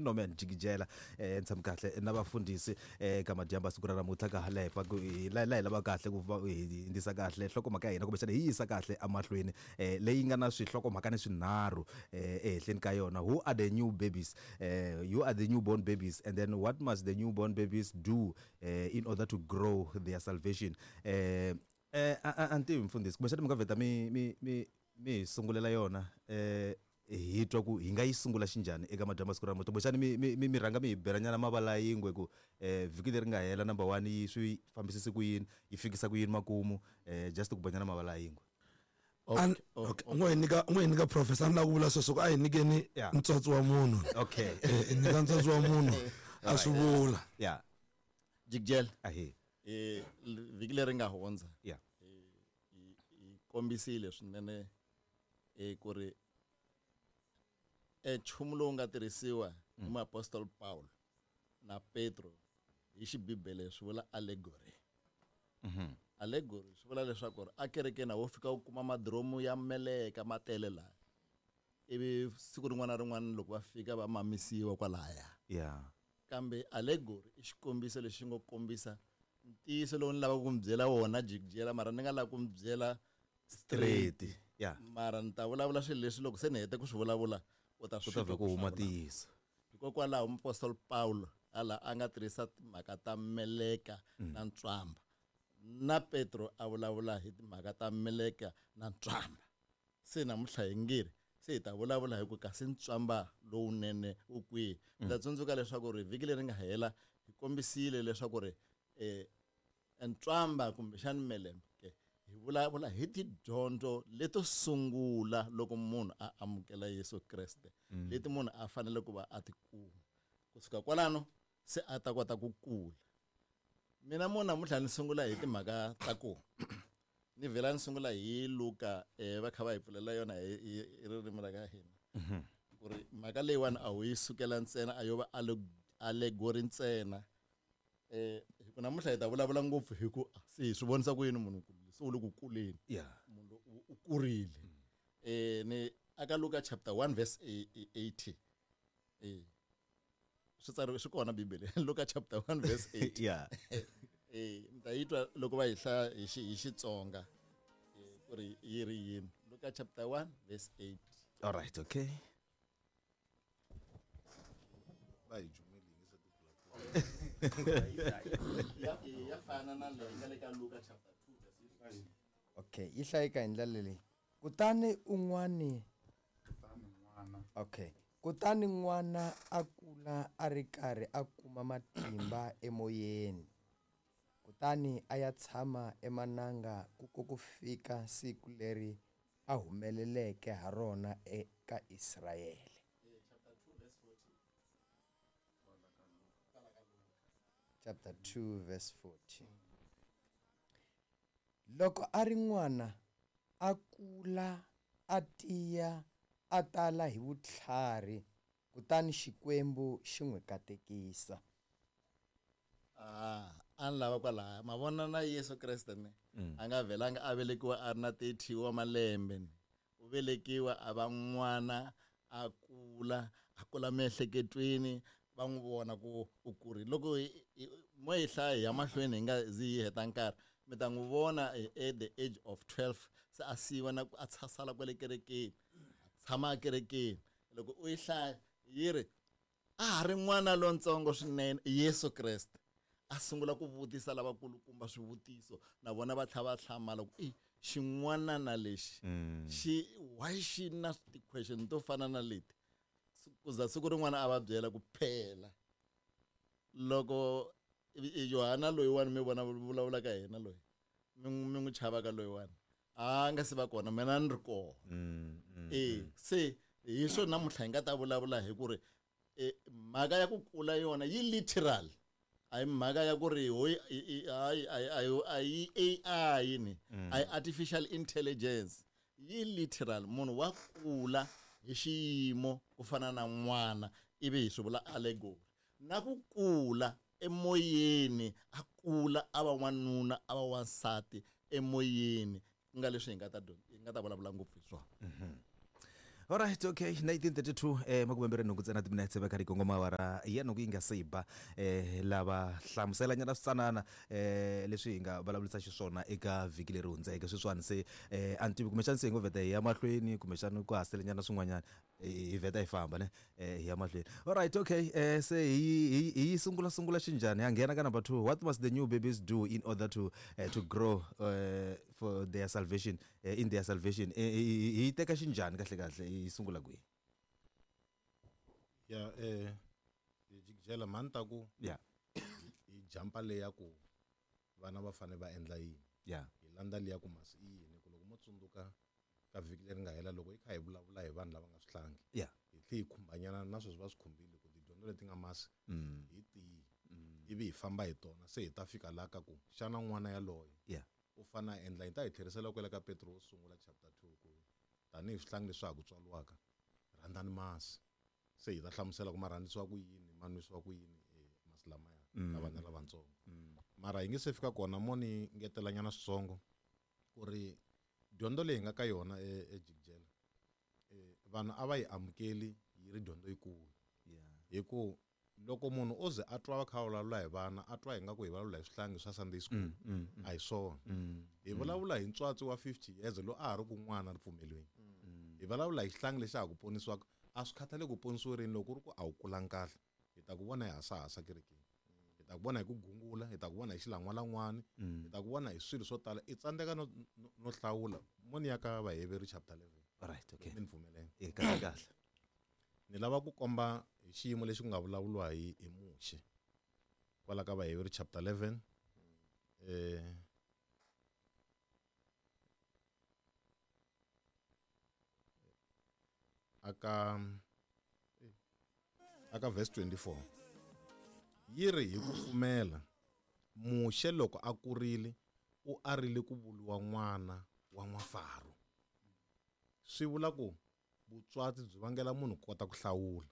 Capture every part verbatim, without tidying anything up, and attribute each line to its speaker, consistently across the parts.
Speaker 1: Norman Jigijela eh ni tshami kahle na vafundhisi eh ka madyambu siku ra namuntlha ka hala hi pfa ku hi la la hi lava kahle ku va hi hindzisa kahle nhlokomhaka ya hina kumbexana hi yisa kahle emahlweni eh leyi nga na swihlokomhaka ni swinharhu eh ehenhleni ka yona. Who are the new babies? eh you are the newborn babies, and then what must the newborn babies do eh, in order to grow their salvation? eh eh a ni tivi mfundhisi, kumbexana mi nga vheta mi mi mi mi hi sungulela yona eh hi twa ku hi nga yi sungula xinjhani eka madyambu siku ra namuntlha. Kumbexana mi mi mi mi rhanga mi hi belanyana mavala yingwe ku eh vhiki leri nga hela number one yi swi fambisise ku yini, yi fikisa ku yini makumu, eh just ku banyana mavala yingwe.
Speaker 2: Okay, okay. N'we hi nyika n'we hi nyika professor, ni lava ku vula sweswo ku a hi nyikeni ntswatsi wa munhu.
Speaker 1: Okay.
Speaker 2: Eh nyika ntswatsi wa munhu a swi vula.
Speaker 1: Yeah.
Speaker 3: Jigijela.
Speaker 1: Ahe.
Speaker 3: Eh vhiki leri nga hundza.
Speaker 1: Yeah.
Speaker 3: Hi kombisile swinene eh ku ri e nchumu lowu nga tirhisiwa hi muapostoli Paul na Petro hi xibibele swi vula allegory.
Speaker 1: Mhm.
Speaker 3: Allegory swi vula leswaku a kerekeni wo fika u kuma madromu ya meleka ma tele laha, ivi siku rin'wana na rin'wana loko va fika va mamisiwa kwalaya.
Speaker 1: Yeah.
Speaker 3: Kambe allegory i xikombiso lexi ngo kombisa ntiyiso lowu ni lavaka ku mi byela wona Jigijela, mara ni nga lava ku mi byela
Speaker 1: straight. Yeah.
Speaker 3: Mara ni ta vulavula swilo leswi loko se ni hete ku swi vulavula u ta
Speaker 1: swi twa ku huma ntiyiso.
Speaker 3: Hikokwalaho muapostoli Paulo ala a nga tirhisa timhaka ta meleka na ntswamba, na Petro a vulavula hi timhaka ta meleka na ntswamba. Se namuntlha hi ngiri se hi ta vulavula hi ku kasi ntswamba lowunene wu kwihi. Mi ta tsundzuka leswaku ri vhiki leri nga hela hi kombisile leswaku ri eh ntswamba kumbexani melembe hi vulavula hi tidyondzo leto sungula loko munhu a amukela Yesu Kreste, leti munhu a fanele ku va a ti kuma. Kusuka kwalano se a ta kota ku kula. Mina mo namuntlha ni sungula hi timhaka ta ku ni vhela ni sungula hi Luka eh va kha va hi pfulela yona hi ririmi ra ka hina. Ku ri mhaka leyiwani a wu yi sukela ntsena, a yo va allegory ntsena. Eh hi ku namuntlha hi ta vulavula ngopfu hi ku se hi swi vonisa ku yini munhu se u le ku kuleni.
Speaker 1: Yeah.
Speaker 3: Munhu u kurile. Eh ni aka Luka chapter one verse eighty. Eh swi tsariwe swi kona Bibele. Luka chapter one verse eight.
Speaker 1: Yeah.
Speaker 3: Eh mi ta yi twa loko va yi hlaya hi xi hi Xitsonga ku ri yi ri yini. Luka chapter one verse eight.
Speaker 1: All right, okay.
Speaker 2: Bye.
Speaker 3: Ya ya fana na leyi nga le ka Luka chapter two verse eight.
Speaker 4: Okay, yi hlayeka hi ndlela leyi. Kutani un'wani
Speaker 5: kutani n'wana.
Speaker 4: Okay. Kutani n'wana a kula a ri karhi a kuma matimba emoyeni. Kutani a ya tshama emananga ku ko ku fika siku leri a humeleleke ha rona eka Israyele. Chapter two verse fourteen. Loko a ri n'wana a kula a tiya a tala hi vutlhari, kutani Xikwembu xi n'wi katekisa.
Speaker 3: Ah, a ni lava kwalaya. Ma vona na Yesu Kreste ne a nga vhelanga a velekiwa a ri na thirty wa malembe ne. U velekiwa a va n'wana, a kula, a kula miehleketweni, va n'wi vona ku u kurile. Loko mo hi hlaya hi ya mahlweni hi nga zi hi heta nkarhi, mi ta n'wi vona at the age of twelve se a siyiwa na ku a sala kwale kerekeni, a tshama ekerekeni. Loko u yi hlaya yi ri a ha ri n'wana lontsongo swinene Yesu Kreste a sungula ku vutisa lavakulukumba swivutiso, na vona va tlhela va hlamala ku i xin'wanana lexi xi why xi na ti-question to fana na leti. Ku za siku rin'wana a va byela ku phela loko Yohana loyiwani mi vona vulavulaka hi yena loyi mi mi n'wi chavaka loyiwani a nga se va kona, mina ni ri kona. Eh se hi swona namuntlha hi nga ta vulavula hi ku ri mhaka ya ku kula yona yi literal, a hi mhaka ya ku ri hoyi hayi a yi A I ni a yi artificial intelligence, yi literal. Munhu wa kula hi xiyimo ku fana na n'wana, ivi hi swi vula allegory. Na ku kula emoyeni, a kula a va n'wanuna a va wansati emoyeni, ku nga leswi hi nga ta hi nga ta vulavula ngopfu hi swona.
Speaker 1: Alright, okay, nineteen thirty-two eh makume nhungu ntsena timinetse va kha ri kongoma awara ya nhungu yi nga se ba eh lava hlamuselanyana switsanana eh leswi hi nga vulavurisa xiswona eka vhiki leri hundzeke sweswiwani se eh a ni tivi kumbexana se hi ngo vheta hi ya mahlweni kumbexana ku haselenyana swin'wanyana hi vheta hi famba ne eh hi ya mahlweni. Alright, okay, eh se hi hi sungula sungula xinjhani ya nghena ka number two. What must the new babies do in order to uh, to grow uh, for their salvation, uh, in their salvation? Hi teka xinjhani kahle kahle hi sungula kwihi?
Speaker 3: Ya eh hi jikijela mani ta ku
Speaker 1: yeah
Speaker 3: hi jampa leya ku vana va fanele va endla yini,
Speaker 1: yeah
Speaker 3: hi landza liya ku masi i yini, ku loko mo tsundzuka ka vhiki leri nga hela loko hi kha hi vulavula hi vanhu lava nga swihlangi,
Speaker 1: yeah
Speaker 3: hi tlhe hi khumbanyana na sweswi va swi khumbile ku tidyondzo leti nga masi hi tihi ivi hi famba hi tona se hi ta fika laha ka ku xana n'wana yaloye
Speaker 1: yeah
Speaker 3: u fane a endla. Hi ta hi tlherisela kwele ka Petro wo sungula chapter two ku tanihi swihlangi leswi ha ku tswariwaka rhandzani masi, se hi ta hlamusela ku ma rhandzisiwa ku yini, ma nwisiwa ku yini masi lamaya ka vana lavatsongo. Mara hi nge se fika kona mo ni ngetelanyana switsongo ku ri dyondzo leyi hi nga ka yona ejikijela vanhu a va yi amukeli yi ri dyondzo yikulu, hi ku loko munhu o ze a twa va kha va vulavula hi vana a twa hi nga ku hi vulavula hi swihlangi swa Sunday school, a hi swona. Hi vulavula hi ntswatsi wa fifty years loyi a ha ri ku n'wana ripfumelweni, hi vulavula hi xihlangi lexi ha ku ponisiwaka. A swi khathali ku ponisiwe rini, loko ku ri ku a wu kulangi kahle hi ta ku vona hi hasahasa kerekeni, hi ta ku vona hi ku gungula, hi ta ku vona hi xilan'walan'wani, hi ta ku vona hi swilo swo tala. I tsandzeka no no hlawula. Mo ni ya ka Vaheveru chapter eleven.
Speaker 1: Alright, okay,
Speaker 3: mi ni pfumeleni
Speaker 1: e kahle kahle
Speaker 3: ni lava ku komba hi xiyimo lexi ku nga vulavuriwa hi hi Muxe kwala ka Vaheveru chapter eleven eh aka aka verse twenty-four yi ri hi ku pfumela Muxe loko a kurile u arile ku vuriwa n'wana wa n'wafaro. Swi vula ku vutswatsi byi vangela munhu ku kota ku hlawula.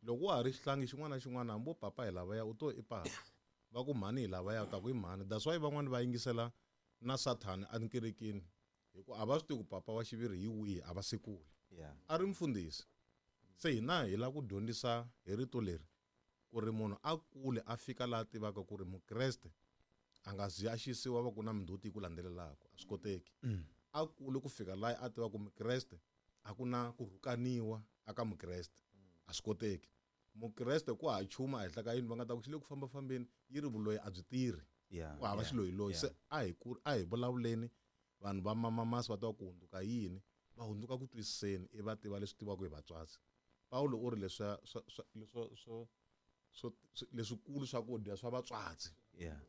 Speaker 3: Loko wa ha ri xihlangi xin'wana na xin'wana hambi wo papa hi lavaya u to i papa, va ku mhani hi lavaya u ta ku i mhani. That's why van'wani va yingisela na Sathani enkerekeni hi ku a va swi tivi ku papa wa xiviri hi wihi, a va se kula. A ri mfundhisi. Se hina hi lava ku dyondzisa hi rito leri ku ri munhu a kule a fika laha tivaka ku ri mukreste a nga zi a xisiwa va ku na mindzhuti yi ku landzelelaka, a swi koteki. A kule ku fika laha a tivaka ku mukreste a ku na ku rhukaniwa aka mukreste, a swi koteki. Mukreste ku ha chuma ehenhla ka yini va nga ta ku xi le ku fambafambeni yi ri vuloyi a byi tirhi, ku hava xiloyiloyi. Se a hi ku a hi vulavuleni vanhu va mamamasi va tiva ku hundzuka yini, va hundzuka ku twisiseni i va tiva leswi tivaka hi vatswatsi. Paulo u ri leswa swa swa swo swo leswikulu swakudya swa vatswatsi,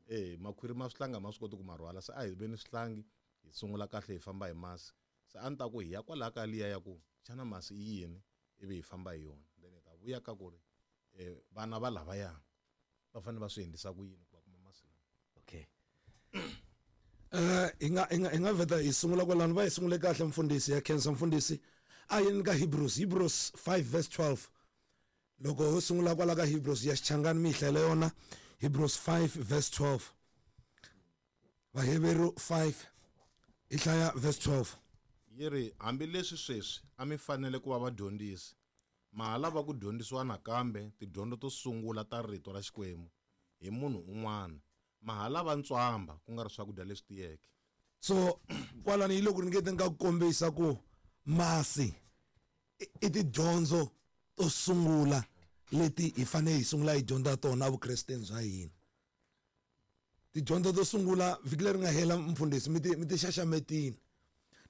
Speaker 3: eh makhwiri ma swihlanga ma swi koti ku ma rhwala. Se a hi veni swihlangi hi sungula kahle hi famba hi masi. Se a ni ta ku hi ya kwalaho ka liya ya ku xana masi i yini ivi hi famba hi yona, then hi ta vuya ka ku ri vana va lavaya va fanele va swi endlisa ku yini ku va kuma masi lawa.
Speaker 1: Okay,
Speaker 2: eh hi nga hi nga hi nga vheta hi sungula kwalano. Va hi sungule kahle mfundhisi ya khensa mfundhisi. A yini ka Hebrews, Hebrews five verse twelve. Loko ho sungula kwala ka Hebrews ya Xichangani mi hi hlayela yona Hebrews five verse twelve. Vaheveru five hi hlaya verse twelve.
Speaker 3: Yi ri hambileswi sweswi a mi fanele ku va vadyondzisi, ma ha lava ku dyondzisiwa nakambe tidyondzo to sungula ta rito ra Xikwembu hi munhu un'wana, ma ha lava ntswamba ku nga ri swakudya leswi tiyeke.
Speaker 2: So kwalani hi loko ringeteni ka ku kombisa ku masi i tidyondzo to sungula leti hi fanele hi sungula hi dyondza tona evukresteni bya hina. Tidyondzo to sungula vhiki leri nga hela mfundhisi mi ti mi ti xaxametini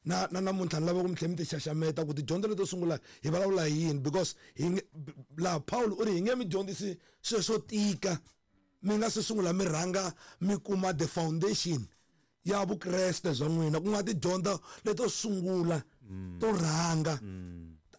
Speaker 2: na na namuntlha ni lava ku mi tlhela mi ti xaxameta ku tidyondzo leto sungula hi vulavula hi yini, because hi laha Paul u ri hi nge mi dyondzisi swilo swo tika mi nga se sungula mi rhanga mi kuma the foundation ya vukreste bya n'wina, ku nga tidyondzo leto sungula to rhanga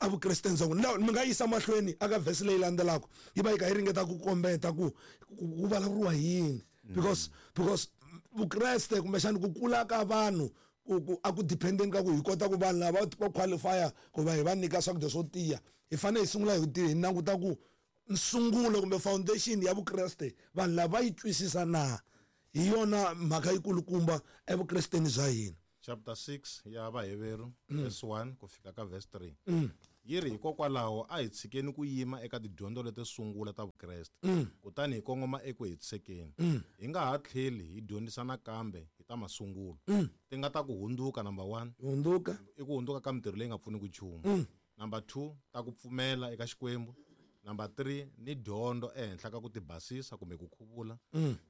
Speaker 2: evukresteni bya n'wina. Mi nga yisa mahlweni aka verse leyi landzelaka yi va yi kha yi ringeta ku kombeta ku ku vulavuriwa hi yini, because because vukreste kumbexana ku kula ka vanhu ku a ku dependeni ka ku hi kota ku vanhu lava va qualify ku va hi va nyika swakudya swo tiya, hi fanele hi sungula hi hi languta ku nsungulo kumbe foundation ya vukreste vanhu lava yi twisisa na hi yona mhaka yikulukumba evukresteni bya hina.
Speaker 3: Chapter six ya Vaheveru verse one ku fika ka verse three.
Speaker 5: Yi ri hikokwalaho a hi tshikeni ku yima eka tidyondzo leto sungula ta Vukreste, kutani hi kongoma eku hetisekeni. Hi nga ha tlheli hi dyondzisa nakambe hi ta masungulo. Ti nga ta ku hundzuka number one.
Speaker 2: Hundzuka.
Speaker 5: I ku hundzuka ka mintirho leyi nga pfuniki nchumu. Number two, ta ku pfumela eka Xikwembu. Number three, ni dyondzo ehenhla ka ku tibasisa kumbe ku khuvula.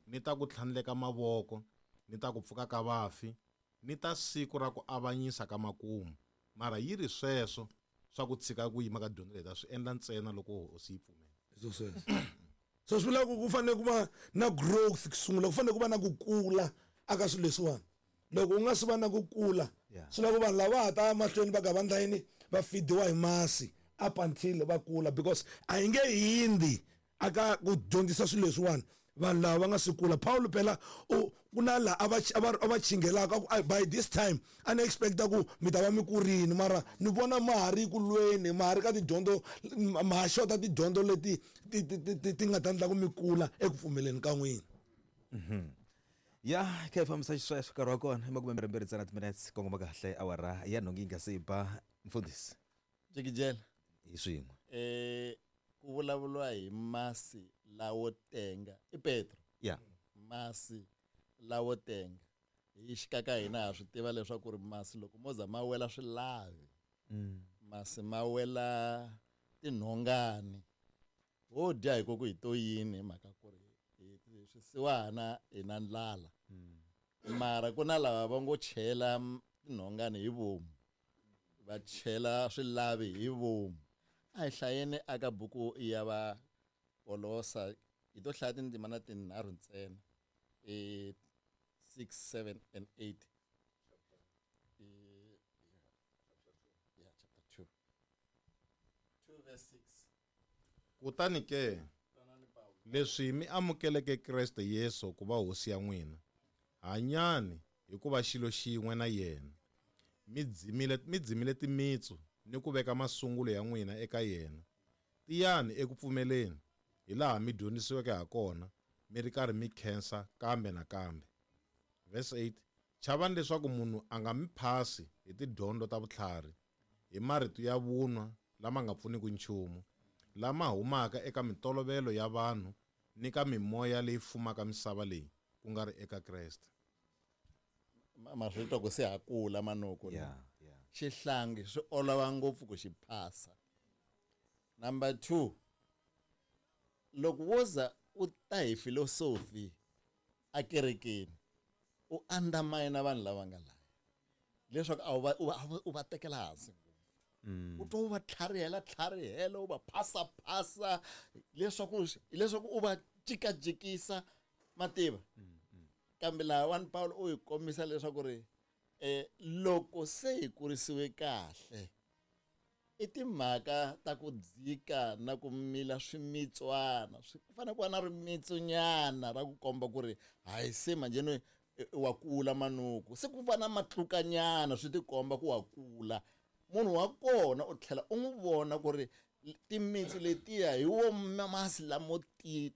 Speaker 5: Ni ta ku tlhandleka mavoko, ni ta ku pfuka ka vafi, ni ta siku ra ku avanyisa ka makumu. Mara yi ri sweswo swa ku tshika ku yima ka dyondzo leyi ta swi endla ntsena loko hosi yi pfumela.
Speaker 2: So sweswo. So swi vula ku ku fanele ku va na growth ku sungula, ku fanele ku va na ku kula aka swilo leswiwani. Loko u nga swi va na ku kula, swi lava ku vanhu lava ha ta mahlweni va ga va ndla yini, va feediwa hi masi up until va kula, because a hi nge hindzi aka ku dyondzisa swilo leswiwani vanhu lava va nga swi kula. Paulo phela u ku na laha a va a va a va chingelaka ku, ai, by this time a ni expecta ku mi ta va mi kurini, mara ni vona ma ha ri ku lweni, ma ha ri ka tidyondzo, ma ha xota tidyondzo leti ti, ti, ti, ti, ti nga ta endla ku mi kula eku pfumeleni ka n'wina.
Speaker 1: Ya, kha hi fambisa xisweswo nkarhi wa kona i makume mbirhi mbirhi ntsena timinetse kongoma kahle awara ya nhungu yi nga se ba mfundhisi.
Speaker 3: Jikijela.
Speaker 1: Hi swin'we.
Speaker 3: Eh, ku vulavuriwa hi masi lawo tenga i Petro.
Speaker 1: Ya.
Speaker 3: Masi lawo tenga. Hi xikaka hina ha swi tiva leswaku ri masi loko mo za ma wela swilavi.
Speaker 1: Mm.
Speaker 3: Masi ma wela tinhongani. Ho dya hi ku hi to yini hi mhaka ku ri hi swisiwana hi na ndlala.
Speaker 1: Mm.
Speaker 3: Mara ku na lava va ngo chela tinhongani hi vomu. Va chela swilavi hi vomu. A hi hlayeni aka buku ya va Kolosa, hi to hlaya tindzimana tinharhu ntsena. Eh, six, seven and eight. Eh, yeah, chapter two. two verse six.
Speaker 5: Kutani ke, leswi mi amukeleke Kreste Yesu ku va hosi ya n'wina, hanyani hikuva xilo xin'we na yena. Mi dzimile, mi dzimile timitsu ni ku veka masungulo ya n'wina eka yena. Tiyani eku pfumeleni, hilaha mi dyondzisiweke ha kona, mi ri karhi mi khensa kambe na kambe. Verse eight, chavani leswaku munhu a nga mi phasi hi tidyondzo ta vutlhari, hi marito ya vunwa lama nga pfuniki nchumu, lama humaka eka mintolovelo ya vanhu ni ka mimoya leyi fumaka misava leyi, ku nga ri eka Kreste.
Speaker 3: Ma, ma swi twa ku se ha kula manuku.
Speaker 1: Yeah, yeah.
Speaker 3: Xihlangi swi olova ngopfu ku xi phasa. Number two, loko wo za u ta hi philosophy a kerekeni, u undermine vanhu lava nga laya. Leswaku a wu va, u va, u va tekela hansi ngopfu.
Speaker 1: Mm.
Speaker 3: U twa u va tlharihela, tlharihela, u va phasa, phasa, leswaku, leswaku u va jikajikisa mativa.
Speaker 1: Mm, mm.
Speaker 3: Kambe laha one Paul u hi kombisa leswaku ri, eh, loko se hi kurisiwe kahle, i timhaka ta ku dzika na ku mila swimitswana. Swi fanele ku va na rimitsunyana ra ku komba ku ri hayi se manjhe wa kula manuku. Se ku va na matlukanyana swi tikomba ku wa kula. Munhu wa kona u tlhela u n'wi vona ku ri timitsu letiya hi wo masi lamo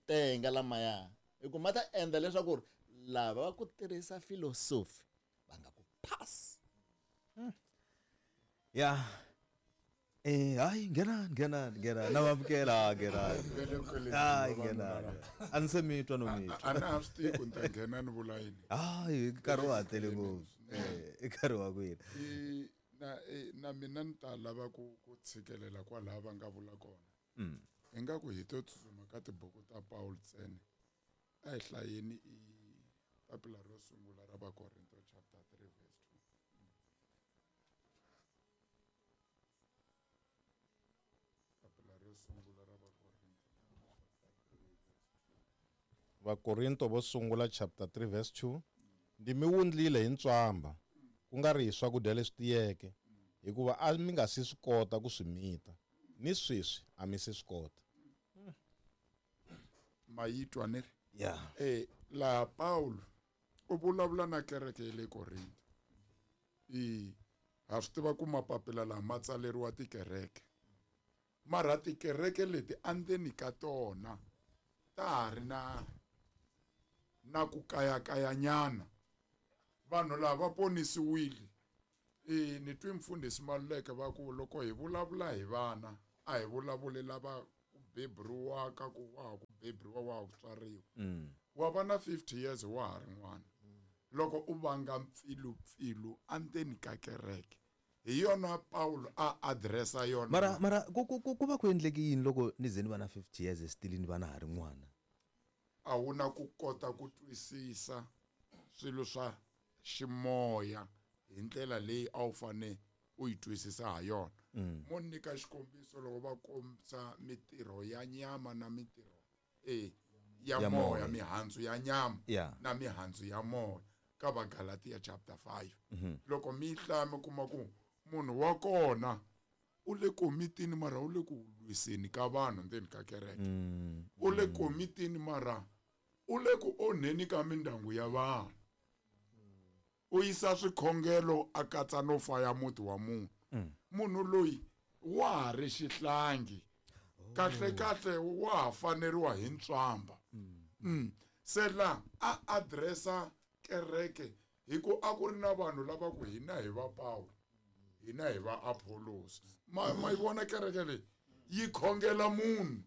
Speaker 3: tenga lamaya. Hi ku ma ta endla leswaku ri lava va ku tirhisa philosophy va nga ku phasi.
Speaker 1: Hmm. Ya. Eh, hayi, ngena, ngena, ngena. Na vamukela, ngena. Hayi, ngena. A ni se mi twa no mi twa.
Speaker 6: A na ha swi tivi ku ni ta nghena ni vula yini.
Speaker 1: Hayi, nkarhi wa ha tele ngopfu. Eh, i nkarhi wa kwini.
Speaker 6: I, na, eh, na mina ni ta lava ku, ku tshikelela kwalaha va nga vula kona.
Speaker 1: Mm.
Speaker 6: Ingaku hi to tsutsuma ka tibuku ta Paul ntsena. A hi hlayeni i papila ro sungula ra Vakorinto chapter three verse two. Papila ro sungula ra Vakorinto chapter three verse two.
Speaker 5: Vakorinto vo sungula chapter three verse two. Ndzi mi wundlile hi ntswamba, ku nga ri hi swakudya leswi tiyeke, hikuva a mi nga si swi kota ku swi mita, ni sweswi a mi se swi kota.
Speaker 6: Ma yi twa ni ri?
Speaker 1: Yeah.
Speaker 6: Eh, laha Paulo u vulavula na kereke ya le Korinto. I ha swi tiva ku mapapila lama ma tsaleriwa tikereke. Mara tikereke leti endzeni ka tona ta ha ri na, na ku kayakayanyana. Vanhu lava va ponisiwile I ni twi mfundhisi Maluleke va ku loko hi vulavula hi vana a hi vulavuli lava ku beburiwaka ku wa ha ku beburiwa wa ha ku tswariwa. Wa va na fifty years wa ha ri n'wana. Loko u vanga mpfilupfilu endzeni ka kereke, hi yona Paulo a addressa yona.
Speaker 1: Mara mara ku ku ku va ku endleke yini loko ni ze ni va na fifty years still ni va na ha ri n'wana?
Speaker 6: A wu na ku kota ku twisisa swilo swa ximoya hi ndlela leyi a wu fane u yi twisisa ha yona. Mo nyika xikombiso loko va kombisa mitirho ya nyama na mitirho e ya
Speaker 1: Ya
Speaker 6: moya,
Speaker 1: moya.
Speaker 6: mihandzu ya nyama
Speaker 1: Yeah.
Speaker 6: na mihandzu ya moya ka Vagalatia chapter five. Loko mi hlaya mi kuma ku munhu wa kona u le komitini mara u le ku lwiseni ka vanhu ndzeni ka kereke. U le komitini mara u le ku onheni ka mindyangu ya vanhu. U yisa swikhongelo a katsa no faya muti wa munhu. Munhu loyi wa ha ri xihlangi. Kahle kahle wa ha faneriwa hi ntswamba. Mm. Se la a addressa kereke hi ku a ku ri na vanhu lava ku hina hi va Paulo, hina hi va Apollos. Ma ma yi vona kereke leyi yi khongela munhu,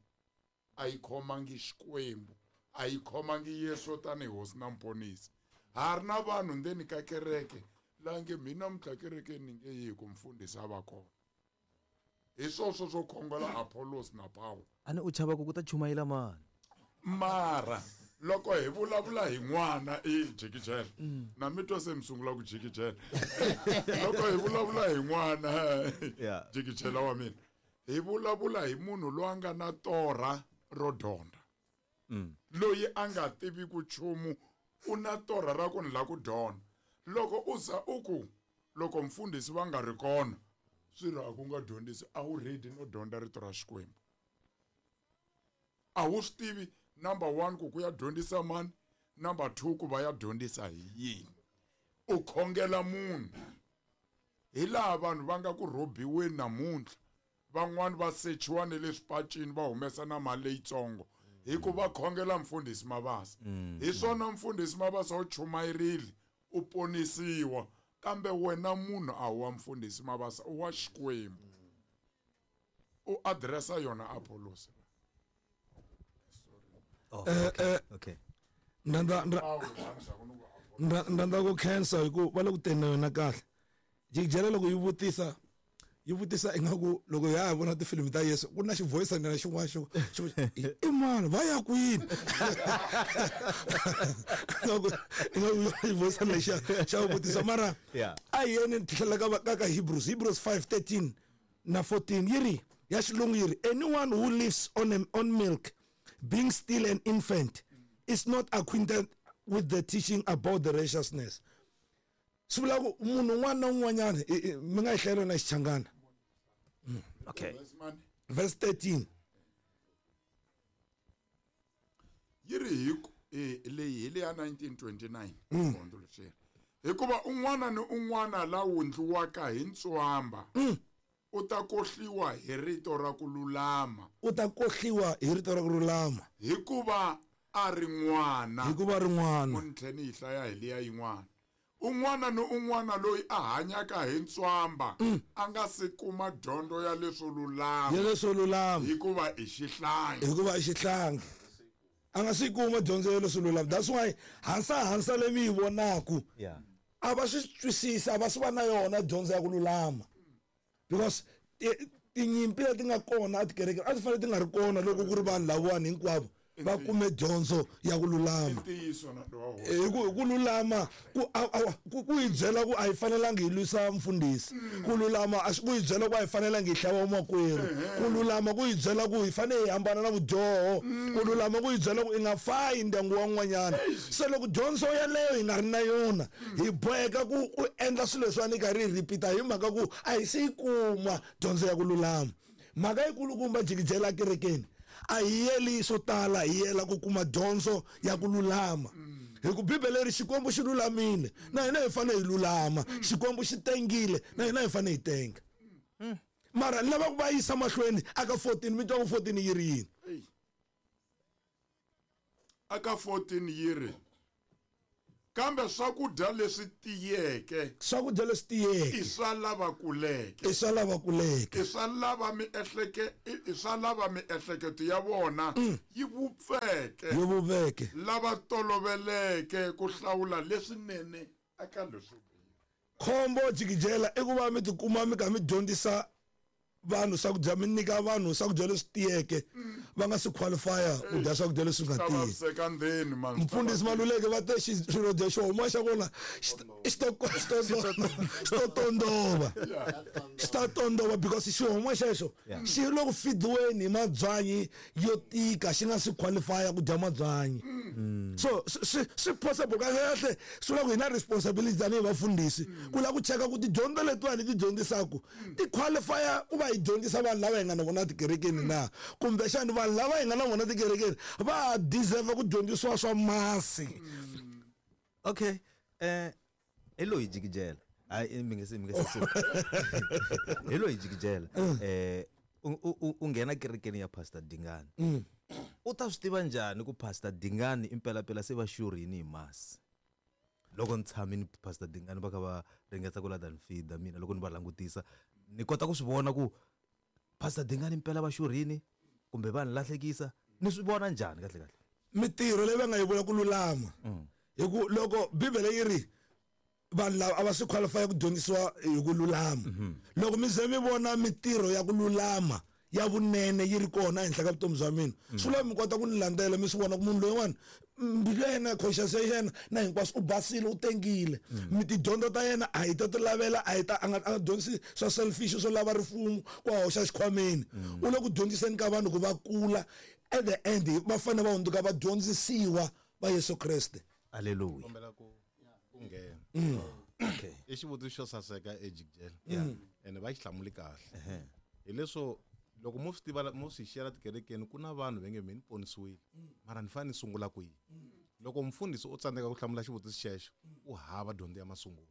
Speaker 6: a yi khomangi Xikwembu, a yi khomangi Yesu tanihi hosi na muponisi. Ha ri na vanhu ndzeni ka kereke la nge mina namuntlha kerekeni ni nge yi ku mfundhisi a va kona. Hi swoswo swo khongela Apollos na Paulo.
Speaker 1: A ni u chava ku ku ta chumayela mani?
Speaker 6: Mara loko hi vulavula hi n'wana i jikijela, na mi twa se mi sungula ku jikijela. Loko hi vulavula hi n'wana
Speaker 1: Yeah.
Speaker 6: jikijela wa mina, hi vulavula hi munhu loyi a nga na torha ro dyondza. Loyi a nga tivi ku nchumu u na torha ra ku ni la ku dyondza. Loko u za u ku loko mfundhisi va nga ri kona swi ri a ku nga dyondzisi, a wu ready no dyondza rito ra Xikwembu. A wu swi tivi number one ku ku ya dyondzisa mani, number two ku va ya dyondzisa hi yini. U khongela munhu. Hi laha vanhu va nga ku rhobiweni namuntlha, van'wani va sechiwa ne le swipacini va humesa na mali leyitsongo hi ku va khongela mfundhisi Mabasa. Hi swona mfundhisi Mabasa u chumayerile, u ponisiwa, kambe wena munhu a wu wa mfundhisi Mabasa, u wa Xikwembu. U addressa yona Apollos.
Speaker 1: Oh, okay. Okay.
Speaker 2: Ndanda ndra
Speaker 6: Paulo
Speaker 2: ndra ndanda ku khensa hi ku va le ku teni na yona kahle. Jikijela loko yi vutisa, yi vutisa ingaku loko ya ha vona tifilimi ta Yesu ku na xivoyisana na xin'wana xo xo i mani va ya kwini? Ingaku ingaku xivoyisana lexiya xa vutisa mara
Speaker 1: Yeah.
Speaker 2: a hi yeni tlhela ka ka ka Hebrews, Hebrews five thirteen na fourteen yi ri ya xilungu yi ri anyone who lives on a, on milk being still an infant is not acquainted with the teaching about the righteousness. Swi vula ku munhu un'wana na un'wanyana mi nga yi hlayela na Xichangana.
Speaker 1: Okay.
Speaker 2: Verse thirteen.
Speaker 6: Yi ri hi ku eh, leyi hi leya nineteen twenty-nine hundzuluxela. Hikuva un'wana ni un'wana la wundliwaka hi ntswamba u ta kohliwa hi rito ra ku lulama.
Speaker 2: U ta kohliwa hi rito ra ku lulama.
Speaker 6: Hikuva a ri n'wana.
Speaker 2: Hikuva a ri n'wana.
Speaker 6: Mo ni tlhela ni yi hlaya hi liya yin'wana. Un'wana ni un'wana loyi a hanyaka hi ntswamba a nga si kuma dyondzo ya leswo lulama.
Speaker 2: Ya leswo lulama.
Speaker 6: Hikuva i xihlangi.
Speaker 2: Hikuva i xihlangi. A nga si kuma dyondzo ya leswo lulama. That's why hansa hansa leyi mi yi vonaku.
Speaker 1: Yeah.
Speaker 2: A va swi twisisi, a va swi va na yona dyondzo ya ku lulama. Because tinyimpi leti nga kona etikerekeni a ti fanele ti nga ri kona loko ku ri vanhu lavawani hinkwavo va kume dyondzo ya ku lulama.
Speaker 6: Ntiyiso na lowa hosi.
Speaker 2: Hi ku, hi ku lulama ku, a, a, ku, ku hi byela ku a hi fanelangi hi lwisa mfundhisi. Ku lulama a swi ku hi byela ku a hi fanelangi hi hlava makwerhu. Ku lulama ku hi byela ku hi fanele hi hambana na vudyoho. Ku lulama ku hi byela ku i nga fayi ndyangu wa un'wanyana. Se loko dyondzo yaleyo hi nga ri na yona, hi boheka ku, ku endla swilo leswiwani hi karhi hi repeat-a hi mhaka ku a hi se yi kuma dyondzo ya ku lulama. Mhaka yikulukumba jikijela kerekeni a hi yeli swo tala, hi yela ku kuma dyondzo ya ku lulama. Hi ku Bibele ri Xikwembu xi lulamile, na hina hi fanele hi lulama. Xikwembu xi tengile, na hina hi fanele hi tenga. Mara ni lava ku va yisa mahlweni aka fourteen, mi twa ku fourteen yi ri yini?
Speaker 6: Aka fourteen yi ri, Kambe swakudya leswi tiyeke
Speaker 2: swakudya leswi tiyeke
Speaker 6: i swa lava kuleke
Speaker 2: i swa lava kuleke
Speaker 6: i swa lava miehleke i swa lava miehleketo ya vona yi vupfeke
Speaker 2: yi vupfeke
Speaker 6: lava toloveleke ku hlawula leswinene eka leswo biha.
Speaker 2: Khombo jikijela i ku va mi tikuma mi kha mi dyondzisa vanhu swakudya mi nyika vanhu swakudya leswi tiyeke va nga si qualifya ku dya swakudya leswi nga
Speaker 6: Ta
Speaker 2: tiyi.
Speaker 6: vaviseka ndzeni man
Speaker 2: Mfundhisi Maluleke va te xirhodya xo huma xa kona xi ta xi ta xi ta tondova xi ta tondova because xihoma xexo xi le ku fidiweni hi mabyanyi yo tika xi nga si qualifya ku dya mabyanyi. So swi swi possible kahle kahle swi vula ku hi na responsibility tanihi vafundhisi ku lava ku cheka ku tidyondzo letiwani hi ti dyondzisaka ti qualifya ku va hi dyondzisa vanhu lava hi nga na vona tikerekeni na kumbexani vanhu lava hi nga na vona tikerekeni va ha deserve ku dyondzisiwa swa masi.
Speaker 1: Okay eh hi loyi jikijela hayi mi nge se mi nge se suka hi loyi jikijela eh u u nghena kerekeni ya Pastor Dingani u ta swi tiva njhani ku Pastor Dingani impelapela se va xurhini hi masi loko ni tshame ni Pastor Dingani va kha va ringeta ku lata ni feeda mina loko ni va langutisa ni kota ku swi vona ku Pastor Dingani impela va xurhini kumbe va ni lahlekisa ni swi vona njhani kahle kahle
Speaker 2: mitirho leyi va nga yi vula ku lulama hi ku loko bibele yi ri vanhu lava a va swi qualify ku dyondzisiwa hi ku lulama loko mi ze mi vona mitirho ya ku lulama ya vunene yi ri kona ehenhla ka vutomi bya mina swi vula mi kota ku ni landzela mi swi vona ku munhu loyiwani mbilu ya yena conscience ya yena na hinkwaswo u basile u tengile mi tidyondzo ta yena a hi ta ti lavela a hi ta a nga a nga dyondzisi swa selfish swo lava rifumo ku a hoxa xikhwameni u le ku dyondziseni ka vanhu ku va kula at the end va fanele va hundzuka va dyondzisiwa va Yesu Kreste.
Speaker 1: Hallelujah.
Speaker 5: Kombela ku ku nghena
Speaker 1: Okay
Speaker 5: i xivutiso xo saseka ejikijela ene va xi hlamuli kahle hi leswo loko mo swi tiva mo swi xiyela tikerekeni ku na vanhu va nge me ni ponisiwile mara ni fanele ni sungula kwihi loko mfundhisi u tsandzeka ku hlamula xivutiso xexo u hava dyondzo ya masungulo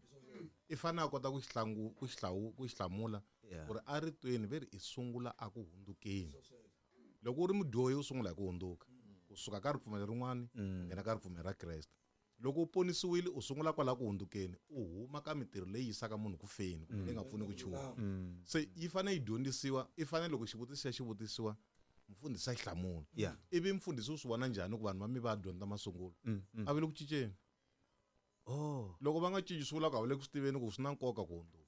Speaker 5: i fanele a kota ku xi hlangu ku xi hlawu ku xi hlamula ku ri a ritweni ve ri i sungula a ku hundzukeni loko u ri mudyohi u sungula hi ku hundzuka kusuka ka ripfumelo rin'wani u nghena ka ripfumelo ra Kreste loko u ponisiwile u sungula kwala ku hundzukeni u huma ka mitirho leyi yisaka munhu ku feni kumbe leyi nga pfuni ku nchumu se yi fanele yi dyondzisiwa i fanele loko xivutiso xa xi vutisiwa mfundhisi a xi hlamula
Speaker 1: Yeah.
Speaker 5: ivi mfundhisi u swi vona njhani ku vanhu va mi va dyondza masungulo a va le ku cinceni
Speaker 1: oh
Speaker 5: loko va nga cinci swi vula ku a va le ku swi tiveni ku swi na nkoka ku hundzuka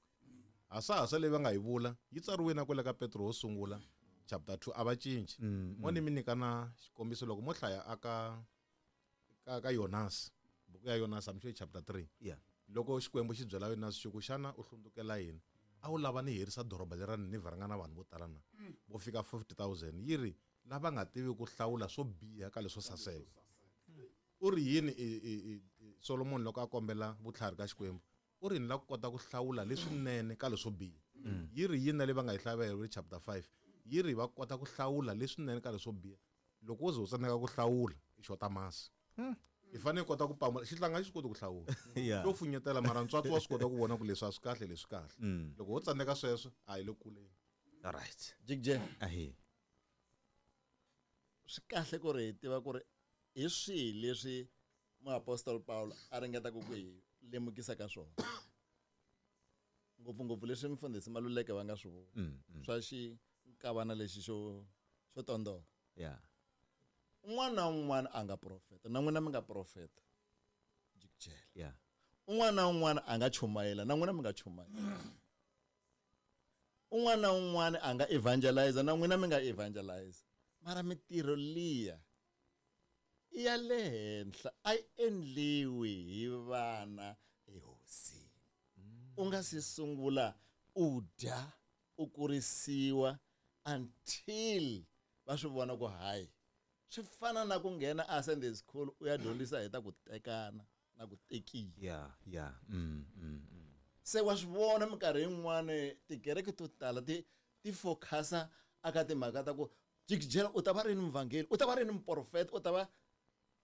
Speaker 5: hasahasa leyi va nga yi vula yi tsariwe na kwale ka Petro wo sungula chapter two a va cinci mo ni mi nyika na xikombiso loko mo hlaya aka ka ka Yonasi buku ya Yonasi I'm sure chapter three
Speaker 1: yeah
Speaker 5: loko Xikwembu xi byela Yonasi xi ku xana u hlundzukela yini a wu lava ni herisa doroba lera Ninivha ri nga na vanhu vo tala na vo fika fifty thousand yi ri lava nga tivi ku hlawula swo biha ka leswo saseka u ri yini i Solomon loko a kombela vutlhari ka Xikwembu u ri ni la ku kota ku hlawula leswinene ka leswo biha yi ri yini na leyi va nga yi hlavela hi chapter five yi ri va kota ku hlawula leswinene ka leswo biha loko wo ze u tsandzeka ku hlawula i xota masi i fanele kota ku pamula xihlanga xi swi koti ku hlawula
Speaker 1: Yeah.
Speaker 5: xo funyetela mara ntswatsi wa swi kota ku vona ku leswi a swi kahle leswi kahle loko wo tsandzeka sweswo a hi le kuleni
Speaker 1: all right
Speaker 3: Jikijela
Speaker 1: ahi
Speaker 3: swi kahle ku ri hi tiva ku ri hi swihi leswi muapostoli Paulo a ringetaka ku hi lemukisa ka swona ngopfungopfu leswi mfundhisi Maluleke va nga swi vula swa xinkavana lexi xo xo tondova
Speaker 1: yeah
Speaker 3: un'wana na un'wana a nga profeta na n'wina mi nga profeta jikijela
Speaker 1: yeah
Speaker 3: un'wana na un'wana a nga chumayela na n'wina mi nga chumayela un'wana na un'wana a nga evangelize na n'wina mi nga evangelize mara mitirho liya i ya le henhla a yi endliwi hi vana ehosini u nga si sungula u dya u kurisiwa until va swi vona ku hayi swi fana na ku nghena a Sunday school u ya dyondzisa hi ta ku tekana na ku tekiwa
Speaker 1: yeah yeah mm, mm, mm.
Speaker 3: se wa swi vona minkarhi yin'wani tikereke to tala ti ti focusa aka timhaka ta ku jikijela u ta va rini muvhangeli u ta va rini muprofeta u ta va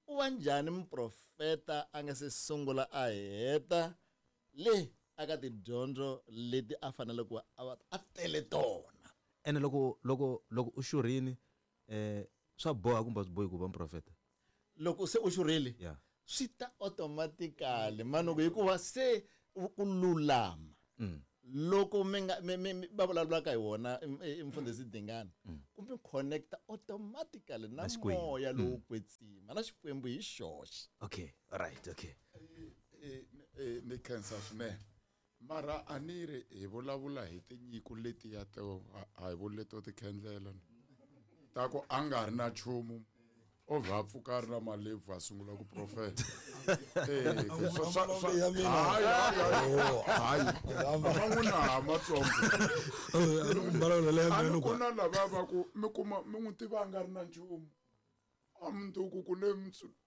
Speaker 3: u va njhani muprofeta a nga se sungula a heta le aka tidyondzo leti a fanele ku a va a tele tona
Speaker 1: ene loko loko loko u xurhini eh swa boha kumbe a swi bohi ku va muprofeta
Speaker 3: loko se u xurhile
Speaker 1: yeah
Speaker 3: Swi ta automatically manuku hikuva se ku lulama. Loko mi nga mi va vulavulaka hi wona mfundhisi Dingana kumbe connecta automatically na moya lowo kwetsima na Xikwembu hi xoxe.
Speaker 1: Okay, all right, okay.
Speaker 6: Ni khensa swinene. Mara a ni ri hi vulavula hi tinyiko letiya to a hi vuli leto tikhendlela ta ku a nga ri na nchumu o vha pfuka ri na malebvu a sungula ku profeta. Eh, hayi van'wana matsongo ku na lava va ku mi kuma mi n'wi tiva a nga ri na nchumu a mundzuku ku ne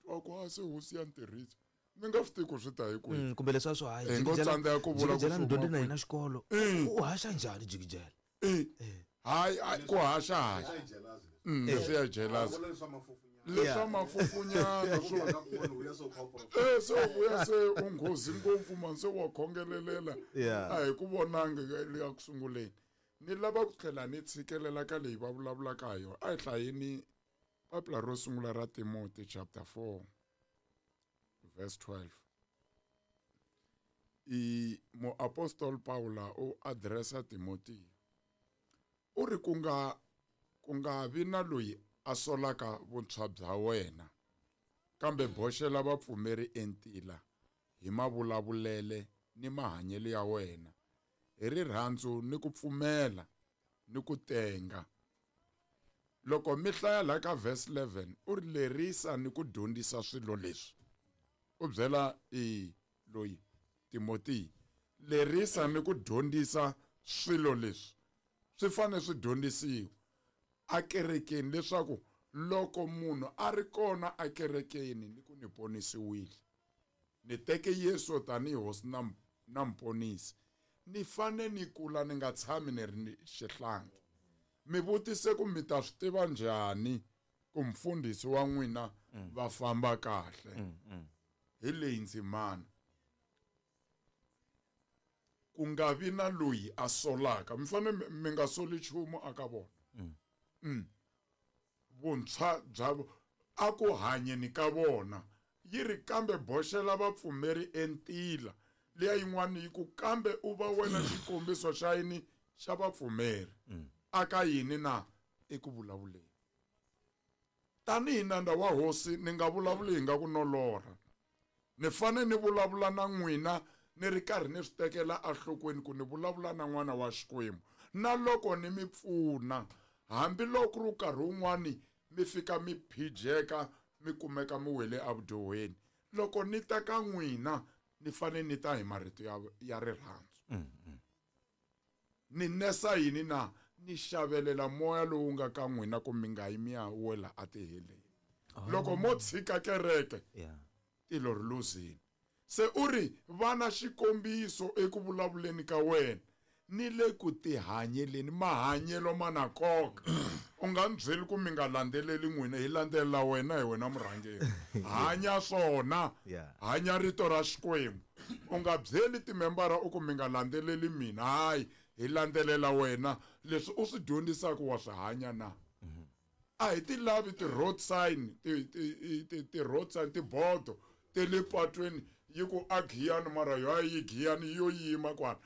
Speaker 6: wa ku a se hosi ya ntirhiso mi nga swi tivi ku swi ta hi kwihi.
Speaker 1: Kumbe leswi swo hayi
Speaker 6: hi ngo tsandzeka ku vula ku
Speaker 1: jikijela ni dyondze na yena xikolo u haxa njhani jikijela?
Speaker 6: Hayi ku haxa haxa leswi ya jealous leswa mafufunyana swo eh so vuya se u nghozi ngopfu man se wa khongelelela a hi ku vonanga le ku sunguleni. Ni lava ku tlhela ni tshikelela ka leyi va vulavulaka ha yona. A hi hlayeni papila ro sungula ra Timothy chapter four verse twelve. I muapostol Paula u addressa Timothy u ri ku nga ku nga vi na loyi a solaka vuntshwa bya wena kambe boxela vapfumeri entila hi mavulavulele ni mahanyelo ya wena hi rirhandzu ni ku pfumela ni ku tenga. Loko mi hlaya la ka verse eleven u ri lerisa ni ku dyondzisa swilo leswi. U byela i loyi Timothy lerisa ni ku dyondzisa swilo leswi swi fanele swi dyondzisiwa akerekeni leswaku loko munhu a ri kona akerekeni ni ku ni ponisiwile ni teke Yesu tanihi hosi na na mponisi ni fane ni kula ni nga tshami ni ri xihlangi. Mi vutise ku mi ta swi tiva njhani ku mfundhisi wa n'wina va famba kahle hi leyi ndzimana ku nga vi na loyi a solaka mi fane mi nga soli nchumu aka vona. Mm. Vuntshwa bya a ku hanyeni ka vona yi ri kambe boxela vapfumeri entila leya yin'wana yi ku kambe u va wena xikombiso xa yini xa vapfumeri aka yini na eku vulavuleni. Tanihi nandza wa hosi ni nga vulavuli hi nga ku nolora ni fane ni vulavula na n'wina ni ri karhi ni swi tekela enhlokweni ku ni vulavula na n'wana wa Xikwembu na loko ni mi pfuna hambiloko ri nkarhi wun'wani mi fika mi phijeka mi kumeka mi wele evudyohweni loko ni ta ka n'wina ni fane ni ta hi marito ya ya rirhandzu. Ni nesa yini na ni xavelela moya lowu nga ka n'wina ku mi nga yi mi ya wela atiheleni loko mo tshika kereke tilo ri luzini. Se u ri vana xikombiso eku vulavuleni ka wena ni le ku tihanyeleni mahanyelo ma na nkoka. U nga ni byeli ku mi nga landzeleli n'wina hi landzelela wena hi wena murhangeri hanya swona hanya rito ra Xikwembu. U nga byeli timembara u ku mi nga landzeleli mina hayi hi landzelela wena leswi u swi dyondzisaka wa swi hanya na. A hi ti lavi ti-road sign ti-road sign tibodo te le patweni yi ku a Giyani mara yo a yi Giyani yo yima kwala.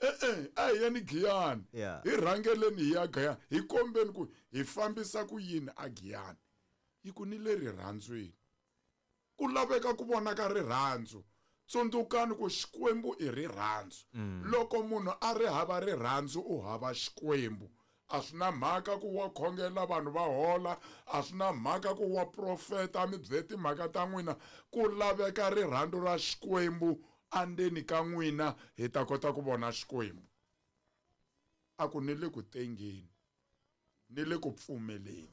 Speaker 6: E-e a hi yeni Giyani hi rhangeleni hi ya Giyani hi kombeni ku hi fambisa ku yini a Giyani yi ku ni le rirhandzwini ku laveka ku vonaka rirhandzu. Tsundzukani ku Xikwembu i rirhandzu. Loko munhu a ri hava rirhandzu u hava Xikwembu. A swi na mhaka ku wa khongela vanhu va hola a swi na mhaka ku wa profeta mi byele timhaka ta n'wina ku laveka rirhandzu ra Xikwembu andzeni ka n'wina hi ta kota ku vona Xikwembu. A ku ni le ku tengeni ni le ku pfumeleni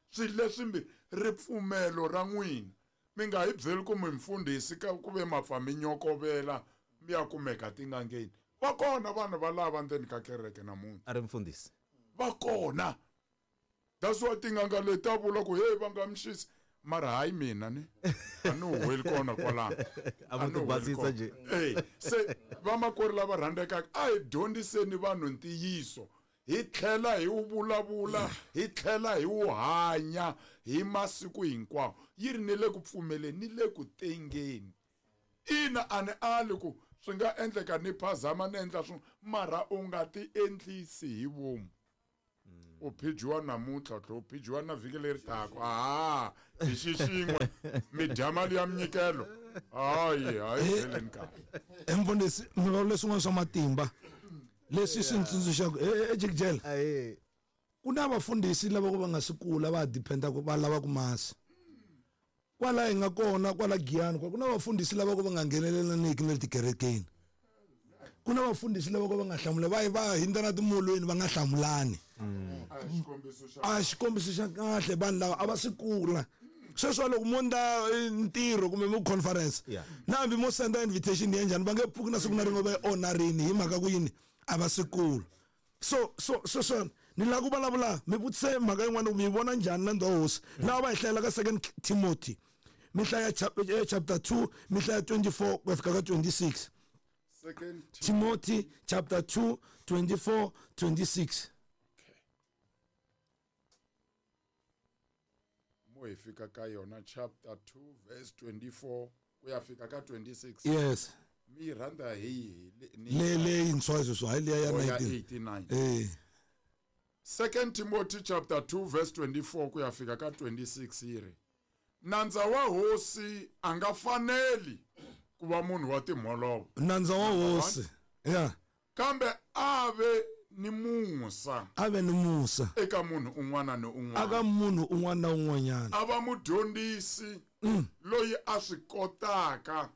Speaker 6: swilo leswi ripfumelo ra n'wina mi nga hi byeli ku mi mfundhisi ka ku ve mapfa mi nyokovela mi ya kumeka tingangeni. Va kona vanhu va lava ndzeni ka kereke namuntlha
Speaker 1: a ri mfundhisi
Speaker 6: va kona. That's why tinganga leti ta vula ku hey va nga mixisi mara hayi mina ni a ni huweli kona kwalano
Speaker 1: a va tibasisa nje.
Speaker 6: Eh se vamakwerhu lava rhandzekaka a hi dyondziseni vanhu ntiyiso Hi tlhela hi wu vulavula, hi tlhela hi wu hanya hi masiku hinkwawo. Yi ri ni le ku pfumeleni ni le ku tengeni. Ina a ni ali ku swi nga endleka ni phazama ni endla swin'we, mara u nga ti endlisi hi vomu. U phijiwa namuntlha, u tlhela u phijiwa na vhiki leri taka. Aha, hi xixin'we mi dya mali ya minyikelo. Hayi, hayi byeleni kahle.
Speaker 2: Mfundhisi, mi vulavula swin'wana swa matimba leswi swi ntsundzuxaka ejikijela. Ku na vafundhisi lava ku va nga si kula va dependa ku va lava ku masi. Kwala hi nga kona kwala Giyani ku na vafundhisi lava ku va nga nghenelelaniki na le tikerekeni. Ku na vafundhisi lava ku va nga hlamula va va hindza na timolweni va nga hlamulani. A xikombiso xa kahle vanhu lava a va si kula. Sweswo loko mo ndla ntirho kumbe mo conference na hambi mo senda invitation ya njhani va nge pfuki na siku na rin'we va yi honorini hi mhaka ku yini a va si kula. So so sweswo ni lava ku vulavula mi vutise mhaka yin'wana mi yi vona njhani na ndhawu hosi lava va hi hlayela ka Second Timothy mi hlaya chapter two mi hlaya twenty-four ku ya fika ka twenty-six.
Speaker 6: Second
Speaker 2: Timothy chapter two twenty-four twenty-six.
Speaker 6: Mo hi fika ka yona chapter two verse twenty-four ku ya fika ka twenty-six.
Speaker 2: Yes.
Speaker 6: Mi rhandza hi
Speaker 2: le leyintshwa sweswo hayi liya ya
Speaker 6: nineteen eighty-nine.
Speaker 2: Eh.
Speaker 6: Second Timothy chapter two verse twenty-four ku ya fika ka twenty-six yi ri, nandza wa hosi a nga faneli ku va munhu wa timholovo.
Speaker 2: Nandza wa hosi. Yeah.
Speaker 6: Kambe a ve ni musa.
Speaker 2: A ve ni musa.
Speaker 6: Eka munhu un'wana ni un'wana.
Speaker 2: Aka munhu un'wana na un'wanyana.
Speaker 6: A va mudyondzisi loyi a swi kotaka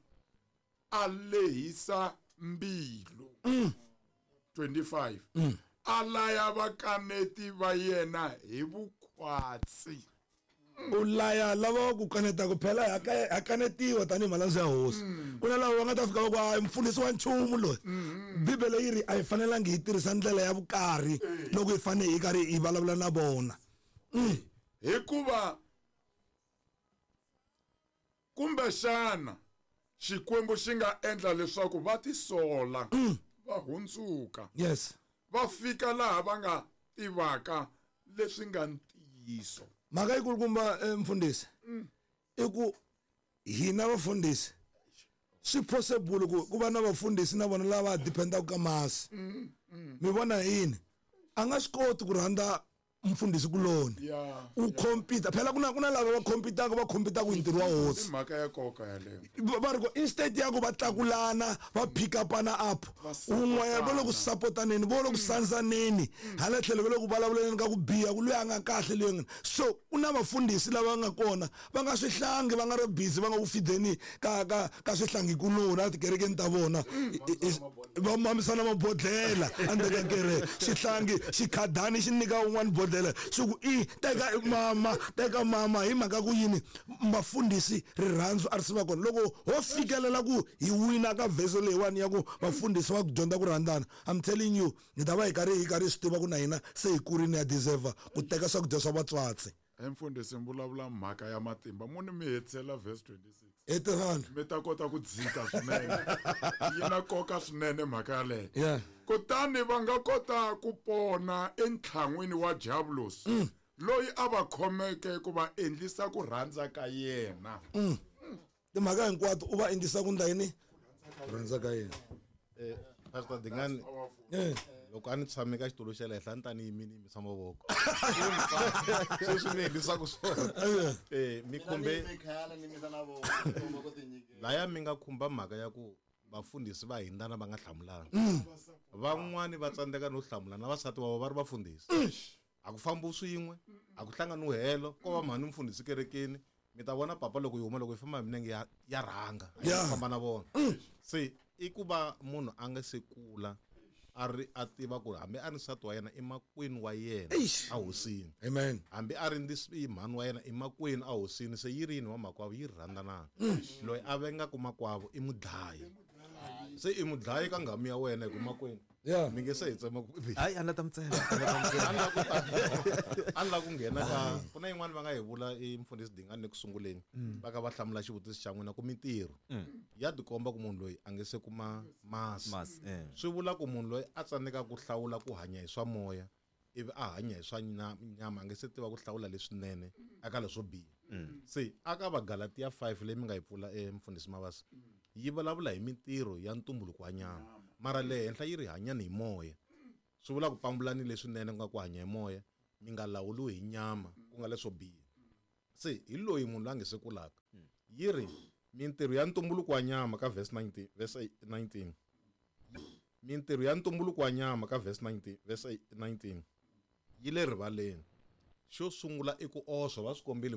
Speaker 6: a lehisa mbilu. twenty-five. A laya vakaneti va yena hi vukhwatsi.
Speaker 2: U laya lava ku kanetaka phela ha kanetiwa tanihi malandza ya hosi. Ku na lava va nga ta fika va ku hayi mfundhisi wa nchumu loyi. Bibele yi ri a hi fanelangi hi tirhisa ndlela ya vukarhi loko hi fanele hi karhi hi vulavula na vona.
Speaker 6: Hikuva kumbexana Xikwembu xi nga endla leswaku va tisola va hundzuka.
Speaker 2: Yes.
Speaker 6: Va fika laha va nga tivaka leswi nga ntiyiso.
Speaker 2: Mhaka yikulukumba mfundhisi i ku hina vafundhisi swi possible ku ku va na vafundhisi na vona lava dependaka ka masi. Mi vona yini a nga swi koti ku rhandza mfundhisi kuloni u compete phela kuna kuna lava va competaka va competaka hi ntirho wa hosi.
Speaker 6: Mhaka ya nkoka yaleyo
Speaker 2: va ri ku instead ya ku va tlakulana va pick upana up un'wana va le ku supportaneni va le ku sandzaneni hala tlhelo va le ku vulavuleni ka ku biha ku loyi a nga kahle loyi nga. So ku na vafundhisi lava nga kona va nga swihlangi va nga ri busy va nga ku fideni ka ka ka swihlangi kuloni a tikerekeni ta vona va mamisana mabodlela endzeni ka kereke xihlangi xikhadani xi nyika un'wana bodlela xi ku i teka mama teka mama hi mhaka ku yini vafundhisi rirhandzu a ri si va kona. Loko ho fikelela ku hi wina ka verse leyiwani ya ku vafundhisi va ku dyondza ku rhandzana, I'm telling you hi ta va hi karhi hi karhi hi swi tiva ku na hina se hi kurini ya deserve ku teka swakudya swa vatswatsi.
Speaker 6: Mfundhisi mi vulavula mhaka ya matimba mu ni mi hetisela verse twenty-six
Speaker 2: hetisana
Speaker 6: mi ta kota ku dzika swinene yi na nkoka swinene mhaka yaleyo.
Speaker 2: Yeah.
Speaker 6: Kutani va nga kota ku pona entlhan'wini wa Diablos loyi a va khomeke ku va endlisa ku rhandza ka yena.
Speaker 2: Timhaka hinkwato u va endlisa ku ndla yini ku rhandza ka yena.
Speaker 5: Eh Pastor Dingani loko a ni tshame ka xitulu xa le henhla ni ta ni yimile yimisa mavoko. Sweswi ni endlisaka swona. Eh mi khumbe laya mi nga khumba mhaka ya ku vafundhisi va hindana va nga hlamulani. Van'wani va tsandzeka no hlamula na vasati va va ri vafundhisi. A ku fambi swin'we, a ku hlangani helo, ko va mhani mfundhisi kerekeni. Mi ta vona papa loko yi huma loko yi famba hi milenge ya ya rhanga a yi famba na vona. Se i ku va munhu a nga se kula a ri a tiva ku hambi a ri nsati wa yena i makwenu wa yena a hosini.
Speaker 2: Amen.
Speaker 5: Hambi a ri ndi mhani wa yena i makwenu a hosini se yi ri yini wa makwavo yi rhandzanana. Loyi a vengaka makwavo i mudlayi. Se i mudlayi ka nghamu ya wena hi ku makwenu.
Speaker 2: Yeah.
Speaker 5: Mi nge se hi tsema ku
Speaker 1: hayi a ni la ta mi tsema.
Speaker 5: A ni la ku nghena ka ku na yin'wana va nga hi vula i mfundhisi Dingani eku sunguleni va ka va hlamula xivutiso xa n'wina ku mintirho ya tikomba ku munhu loyi a nge se kuma masi. Swi vula ku munhu loyi a tsandzekaka ku hlawula ku hanya hi swa moya ivi a hanya hi swa nya- nyama a nge se tiva ku hlawula leswinene aka leswo biha se aka vagalatiya five leyi mi nga yi pfula e mfundhisi mavasa yi vulavula hi mintirho ya ntumbuluko wa nyama mara le henhla yi ri hanyani hi moya swi vula ku pambulani leswinene ku nga ku hanya hi moya mi nga lawuliwi hi nyama ku nga leswo biha se hi loyi munhu loyi a nge se kulaka yi ri mintirho ya ntumbuluko wa nyama ka verse nineteen verse nineteen mintirho ya ntumbuluko wa nyama ka verse nineteen verse nineteen yi le rivaleni xo sungula i ku oswa va swi kombile.